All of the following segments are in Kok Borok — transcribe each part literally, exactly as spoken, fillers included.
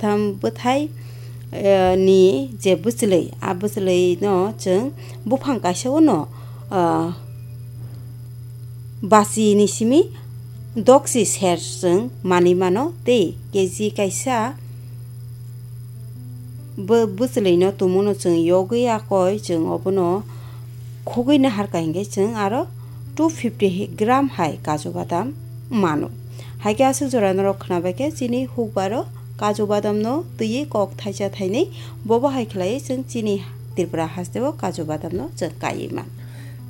Kaitham bwthai, eh, ni je bwchwlwi, a bwchwlwi no chwng buphang kaisa o no, ah, basi ni simi doksi ser chwng manwi mano, tei K G kaisa bw-, bwchwlwi no tongmo no chwng yogwi yakoi chwng obono khogwi naharkha hinkhe chwng aro two fifty gram hai kaju badam mano. Haikhe aswk jora norok khwnabaikhe chini hukbaro kaju badamno twiwi kok thaisa thainwi, bobo hai khlaiwi chwng chini Tripura hasteo kaju badamno chwng kaiwi man.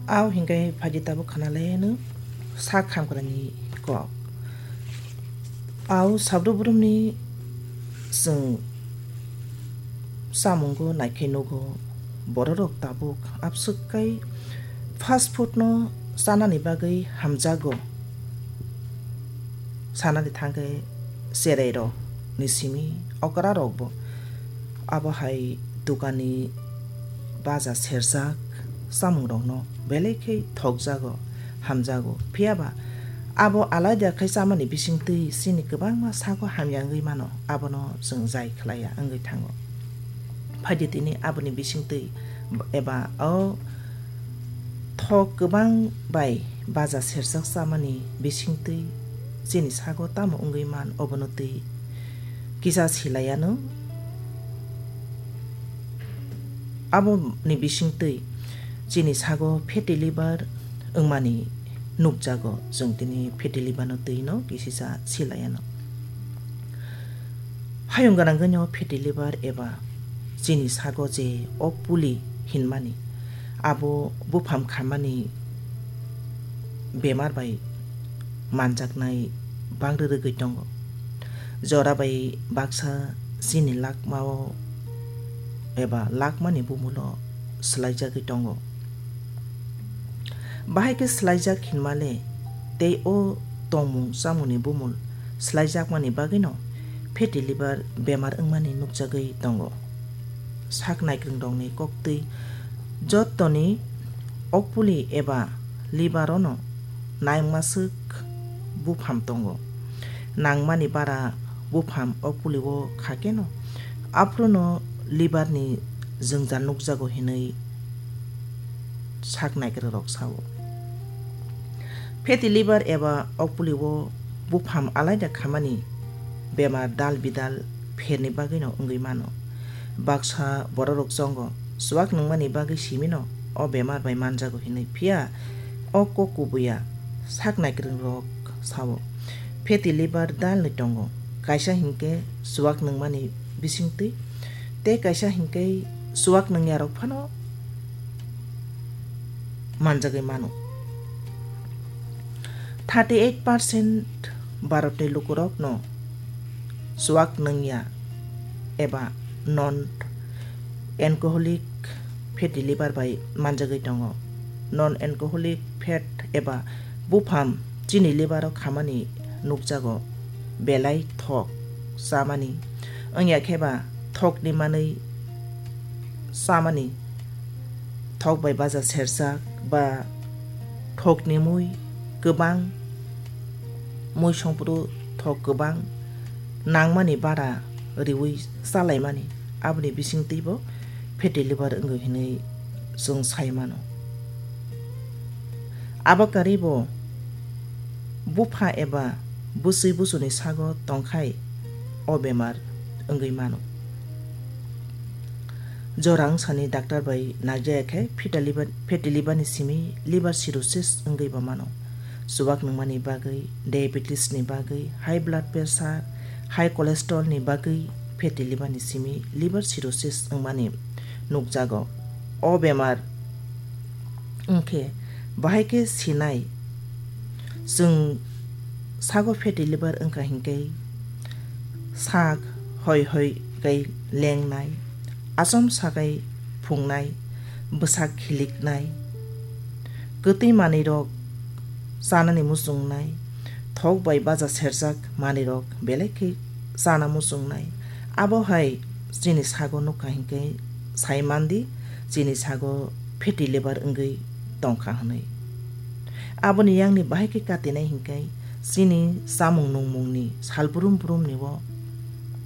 Ao hinkhe phaidi tabuk khwnalaino sak hamkrani kok. Ao sabru brumni chwng chamungo naikhe nugo, bororok tabuk abswk kai fast food no chanani bagwi hamjago. Sanani thangkhe cherairok ni simi okra rokbo abo hai dukani baja serjak chamungrokno belai khe thokjago, hamjago. Phiya ba abo alaida khai chamani bisingtwi chini kwbangma sago hamya wngwi mano, abono chwng jai khlaiya wngwi thango. Phaidi tini aboni bisingtwi eba o thok kwbang bai baja serjak chamani bisingtwi chini sago tamo wngwi man, obono twi kisa silaiano. Aboni bisingtwi chini sago fatty liver wngmani nukjago, chwng tini fatty liver no twi no kisisa silaiano. Hayung gwnangwi no fatty liver eba chini sago je o puli hinmani, abo bupham khamani bemar bai manjaknai bangri rwgwi tongo. Jora bai baksa chini lakmao eba lakmani bumulo swlaijagwi tongo. Bahai khe swlaijak hinmale tei o tongmung chamungni bumul swlaijakmani bagwino fatty liver bemar wngmani nukjagwi tongo. Sak naikwrwngrokni koktwi jottoni okpuli eba liver-ono naimwswk bupham tongo. Nangmani bara bupham okpuli-o kha keno, aphuru-no liver-ni jwngjal nukjago hinwi sak naikwrwngrok sao. Fatty liver eba okpuli-o bupham alaida khamani bemar dal bidal pherni bagwino wngwi mano. Baksa bororok chongo, chuak nungmani bagwi simino o bemar bai manjago hinwi, phiya o kok kubuya sak naikwrwngrok sao. Fatty liver dalni tongo, kaisa hinkhe chuak nungmani bisingtwi, tei kaisa hinkhe chuak nungyarok phano manjagwi mano. Thirty eight percent Bharatni lukurokno chuak nungya eba non alcoholic fatty liver bai manjagwi tongo. Non alcoholic fat eba bupham chini liver-o khamani nukjago, belai thok chamani, wngya khe ba thokni manwi chamani, thok bai baja serjak ba thokni mui kwbang, mui songphuru thok kwbang nangmani bara riwi chalaimani, aboni bisingtwibo fatty liver wngwi hinwi chwng sai mano. Abo karwibo bupha eba bwswi buchuni sago tongkhai o bemar wngwi mano. Jora wngsani doctor bai naijaya khe fatty liver, fatty liver ni simi liver cirrhosis wngwi bo mano. Chuak nungmani bagwi, diabetes ni bagwi, high blood pressure, high cholesterol ni bagwi fatty liver ni simi liver cirrhosis wngmani nukjago. O bemar wngkhe bahai khe sinai. Chwng sago fatty liver wngkha hinkhe sak hoi hoi kai lengnai, achom sakai phungnai, bwsak khiliknai, kwtwi manwirok chanani muchungnai, thok bai baja serjak manwirok belai khe chana muchungnai. Abo hai chini sago nukha hinkhe sai mandi chini sago fatty liver wngwi tongkha hwnwi. Aboni yangni bahai khe katinai hinkhe chini chamung nungmungni sal brum brumni o